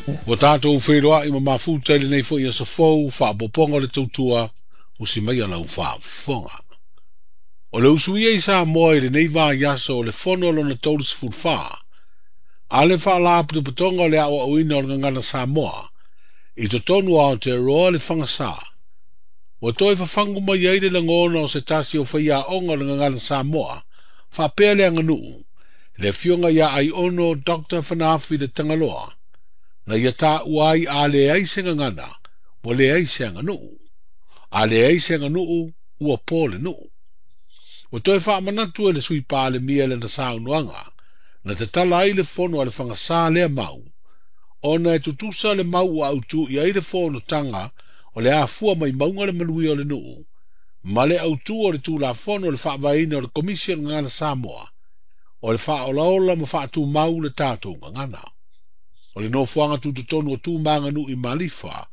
Ua tatou feiloai ma mafuta i lenei foi aso fou, faaopoopoga o le tautua, usi maia lau faafofoga. O le usuia i Samoa i lenei vaiaso o le fono lona 34, a le faalapotopotoga o le aoaoina o le gagana Samoa, i totonu o Aotearoa le Fagasā. Ua toe fafagu mai ai le lagona o se tasi o faiaoga o le gagana Samoa, faapea le aganuu, le afioga ia Aiono Dr. Fanaafi le Tagaloa, na ia taua ai a leai se gagana, ua leai se aganuu. A leai se aganuu, ua po le nuu. Ua toe faamanatu e le sui Palemia lana saunoaga, na tatala ai le fono a le Fagasā lea mau, ona e tutusa le mau ua autu i ai le fonotaga o le afua mai mauga le manuia o le nuu, ma le autu o le Tulafono o le faavaeina o le Komisi o le Gagana Samoa, o le faaolaola ma faatumau le tatou gagana. O le nofoaga tutotonu o Tu ma Aganuu i Malifa,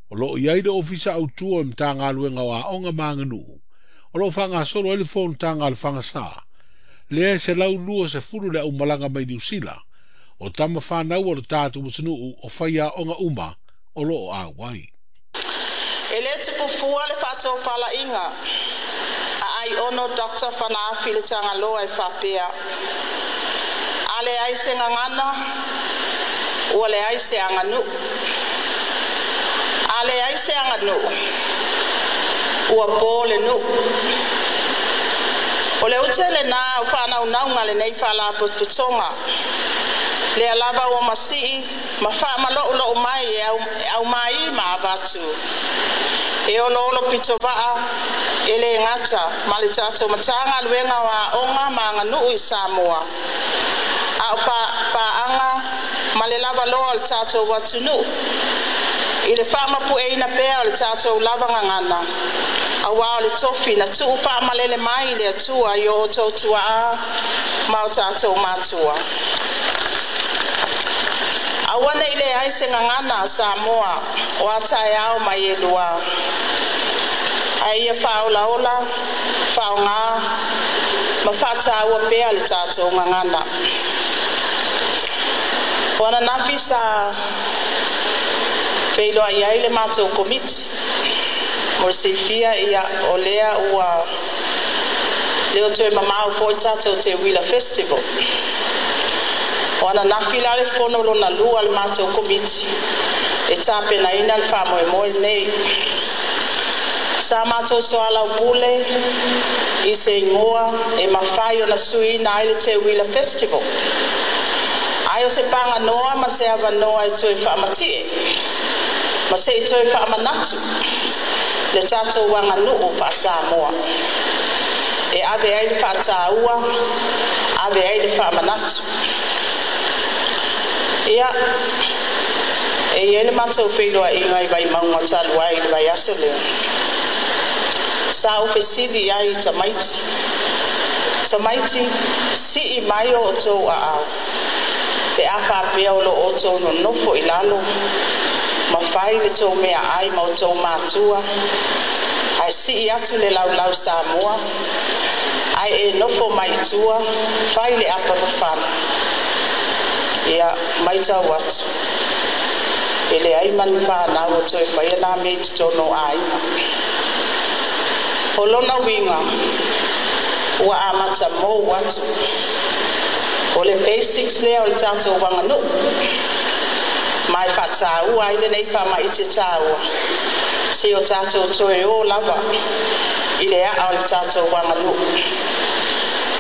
o loo i ai le ofisa autu o le Matagaluega o Aoga ma Aganuu, o loo faagasolo ai le fonotaga a le Fagasā, lea e 120 le aumalaga mai Niu Sila, o tama fanau o le tatou atunuu o faiaoga uma o loo auai. E le tupufua le faatofalaiga a Aiono Dr. Fanaafi le Tagaloa e faapea, a leai se gagana, ua leai se aganuu. A leai se aganuu, ua po le nuu. O le ute lenā o faanaunauga lenei faalapotopotoga, lea lava ua masii ma faamaloulou mai e aumai ma avatu. E oloolo pitovaa e le gata ma le tatou Matagaluega o Aoga ma Aganuu i Samoa, a o paaga ma le lavaloa o le tatou atunuu i le faamapueina pea o le tatou lava gagana, auā o le tofi na tuu faamalele mai i le Atua i o outou tuaa ma o tatou matua. Aua nei leai se gagana o Samoa o a taeao mai e lua, ae ia faaolaola, faaaogā ma faataua pea le tatou gagana. O ananafi sa feiloai ai le matou komiti mo le silafia ia o lea ua leo toe mamao foi tatou Teuila Festival. O ananafi la le fono lona lua le matou komiti e tapenaina le faamoemoe lenei. Sa matou soalaupule i se igoa e mafai ona suiina ai le Teuila Festival, ai o se paganoa ma se avanoa e toe faamatie ma se i toe faamanatu le tatou aganuu faa-Samoa e ave ai le faataua, ave ai le faamanatu. Ia, e i ai le matou feiloaiga i Vaimauga talu ai i le vaiaso lea. Sa ou fesili ai i tamaiti, tamaiti, sii mai o outou aao, pe a faapea o lo outou nonofo i lalo, ma fai le tou meaai ma outou matua, ae sii atu le laulau Samoa, ae e nofo mai i tua, fai le apa fafana. Ia, maitau atu, e leai ma ni fanau o toe faia nā mea i totonu o aiga. O lona uiga, ua amata mou atu. O le basics lea o le tatou aganuu, ma e faataua ai lenei faamaite taua, se o tatou toe o lava i le aa o le tatou aganuu.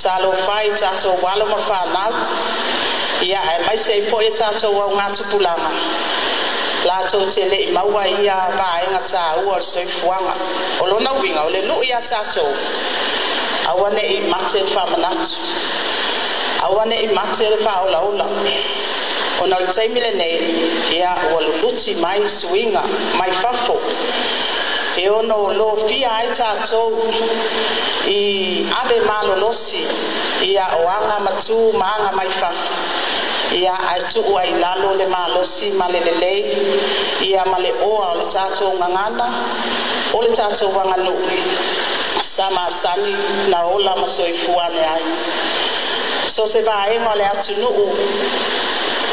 Talofa i tatou alo ma fanau, ia aemaise ai foi e tatou augatupulaga, latou te lei maua ia vaega taua o le soifuaga. O lona uiga, o le lui ia tatou, aua nei mate le faamanatu, aua nei mate le faaolaola. Ona o le taimi lenei, ia ua luluti mai suiga mai fafo, e ono lofia ai tatou i ave malolosi ia o aga matu ma aga mai fafo, ia ae tuu ai lalo le malosi ma le lelei, ia ma le oa o le tatou gagana, o le tatou aganuu, sa masani na ola ma soifua ane ai. So se vaega o le atunuu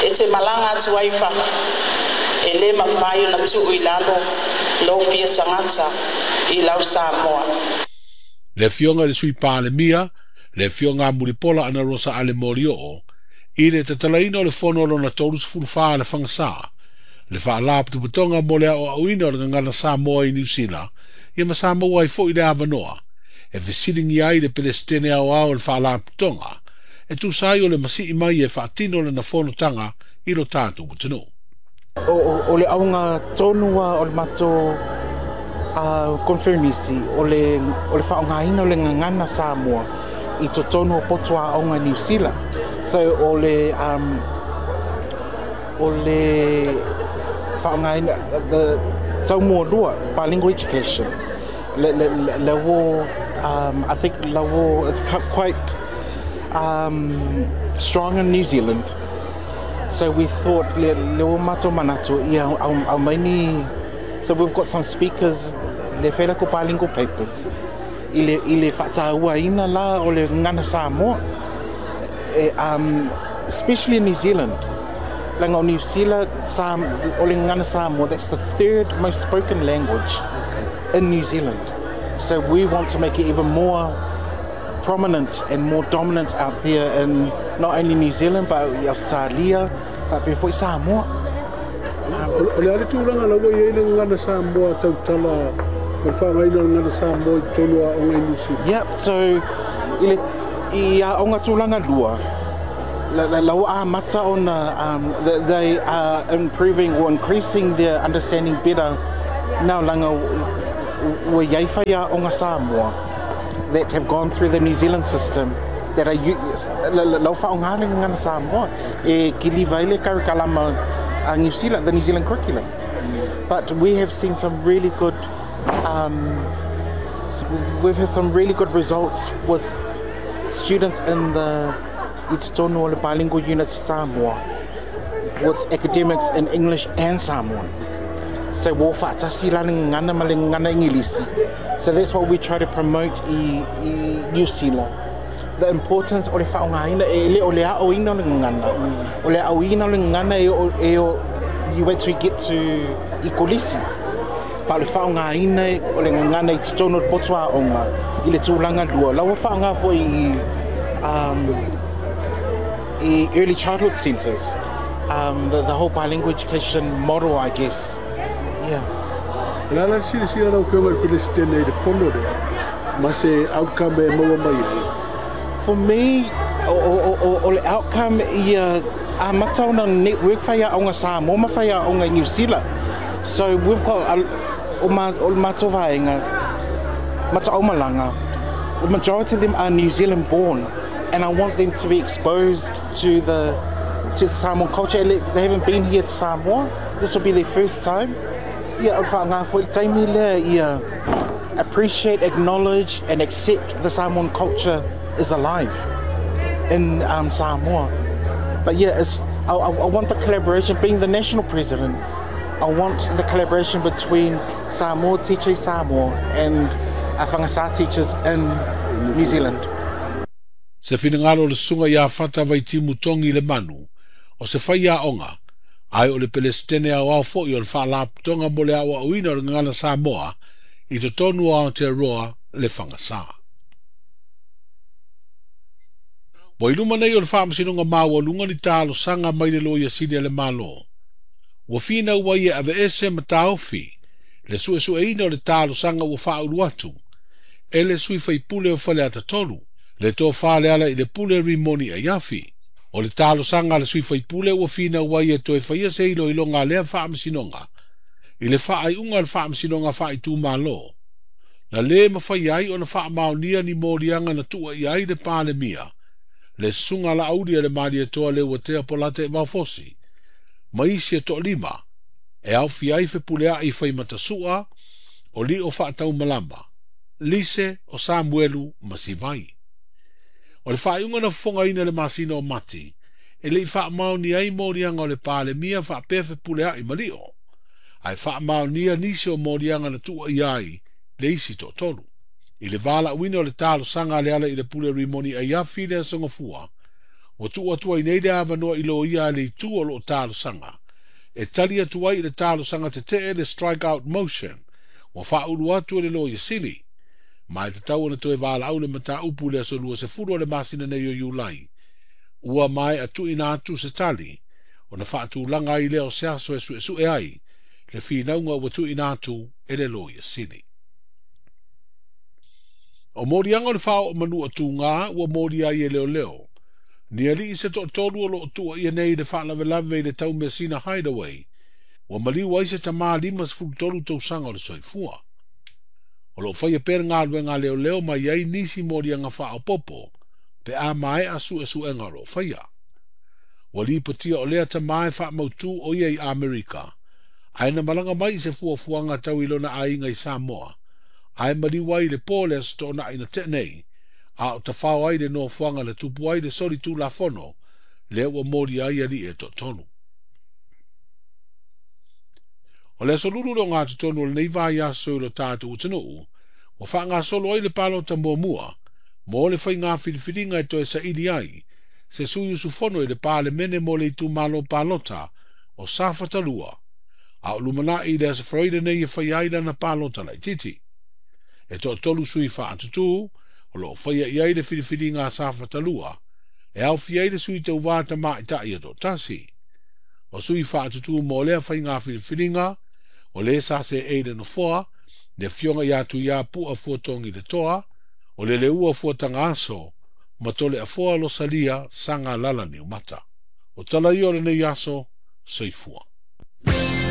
E te malaga atu ai i fafo, e le mafai ona tuu i lalo lou fia tagata i lau Samoa. Le Afioga i le Sui Palemia, le Afioga a Mulipola Anarosa Ale Molioo, i le tatalaina o le fono lona 34 a le Fagasā, le Faalapotopotoga mo le Aoaoina o le Gagana Samoa i Niu Sila, ia ma sa maua ai foi le avanoa e fesiligia ai le Peresetene Aoao o le Faalapotopotoga e tusa ai o le masii mai e faatino lana fonotaga i lo tatou atunuu. O le auga tonu o le matou conference o le faaaogaina o le gagana Samoa i totonu o poto aoga i Niu Sila. So o le faaaogaina the taumualua bilingual education le ua I think la ua it's quite strong in New Zealand. So we thought le ua matou manatu ia aumai ni. So we've got some speakers le fela ko bilingual papers i le faatauaina la o le gagana Samoa, especially in New Zealand. Langa o New Zealand o le gagana Samoa, that's the third most spoken language in New Zealand. So we want to make it even more prominent and more dominant out there in not only New Zealand but Australia, but before Samoa. O le ale tulaga la ua i ai le gagana Samoa tautala ma le faaaogaina o le gagana Samoa i totonu o aoga i Niu Sila. Yep, so i aoga tulaga lua, la ua amata ona they are improving or increasing their understanding better now langa ua iai fai aoga Samoa that have gone through the New Zealand system that are lau faaaoga le gagana Samoa e kiliva ai le karikalama a New Zealand, the New Zealand curriculum. But we have seen some really good we've had some really good results with students in the i totonu o le bilingual units Samoa with academics in English and Samoan. So ua faatasi la le gagana ma le gagana Ingilisi. So that's what we try to promote i New Zealand. The importance o le faaaogaina e le o le aoina o le gagana. O le aoina o le gagana e o you wait till you get to i kolisi. Pa o le faaaogaina o le gagana i totonu o le poto aoga i le tulaga lua. La ua faaaoga foi i early childhood centres. The whole bilingual education model, I guess. Yeah. O le a la silasila lau Afioga i le Peresetene i le fono lea ma se outcome e maua mai ai. For me, o le outcome ia amata ona network fai aoga Samoa ma fai aoga i New Zealand. So we've got o le matou vaega mataomalaga, the majority of them are New Zealand born, and I want them to be exposed to the Samoan culture. They haven't been here to Samoa. This will be their first time. Ia o le faaaoga foi le taimi lea ia appreciate, acknowledge and accept the Samoan culture is alive in Samoa. But yeah, I want the collaboration, being the national president, I want the collaboration between Samoa teachers Samoa and Fagasa teachers in New Zealand. Se finagalo o le susuga ia Fata Vaitimu Tongi le Manu, o se fai aoga, ai o le Peresetene Aoao foi o le Faalapotopotoga mo le aoaoina o le gagana Samoa i totonu o Aotearoa le Fagasā. Ua i luma nei o le faamasinoga maualuga ni talosaga mai le Loia Sili a le Malo. Ua finau ai e aveese ma taofi le suesueina o le talosaga ua faaulu atu e le sui faipule o Faleata 3, le tofa le ala i le pule Rimoni Aiafi. O le talosaga a le sui faipule ua finau ai e toe faia se iloiloga a lea faamasinoga i le faaiuga o le faamasinoga faaitumalo. Na le mafai ai ona faamaonia ni moliaga na tuua i ai le Palemia, le susuga laauli a le Malietoa le Uatea Polata e Vaofosi, ma isi e toalima, e aofia ai fepuleai faimatasoa o lio faataumalama, Lise o Samuelu ma Sivai. O le faaiuga na fofogaina le masina o Mati, e lei faamaonia ai moliaga o le Palemia faapea fepuleai ma lio, ae faamaonia nisi o moliaga na tuua i ai le isi toatolu. I le valaauina o le talosaga a le ala i le pule Rimoni Aiafi le aso Gafua, Ua tuu atu ai nei le avanoa i loia a le itu o loo talosaga e tali atu ai i le talosaga tetee le strike out motion ua faaulu atu e le Loia Sili. Ma e tatau ona toe valaau le mataupu i le aso 20 o le masina nei o Iulai. Ua maea tuuina atu se tali ona faatulaga ai lea o se aso e suesue ai le finauga ua tuuina atu e le Loia Sili. O moliaga o le faaoo manu o tugā ua molia ai e leoleo. Ni alii se toatolu o loo tuuaia nei i le faalavelave i le Taumeasina Hideaway. Ua maliu ai se tamā 53 tausaga o le soifua. O loo faia pea le galuega a leoleo ma i ai nisi moliaga faaopoopo pe a maea suesuega o loo faia. Ua lipotia o lea tamā e faamautū o ia i Amerika, ae na malaga mai i se fuafuaga tau i lona aiga i Samoa, ae maliu ai i le po o le Aso Toonai na tea nei, a o tafao ai le nofoaga na tupu ai le soli tulafono lea ua molia ai alii e toatolu. O le aso Lulu le ogatotonu o lenei vaiaso i lo tatou atunuu, ua faagasolo ai le palota muamua mo le faiga filifiliga e toe saili ai se sui usufono i le Palemene mo le itumalo palota o Safata 2, a o lumanai i le Aso Faraile nei e faia ai lana palota laitiiti. E toatolu sui faatutū o loo faia i ai le filifiliga a Safata 2, e aofia ai le sui tauvā tamaitai e toatasi. O sui faatutū mo lea faiga filifiliga, o le sa seei le nofoa, le afioga ia Tuiapu'a Fuatogi le Toa, o le Leua Fuatagaso, ma Toleafoa Losalia Sagalala Niumata. O tala ia o lenei aso, soifua.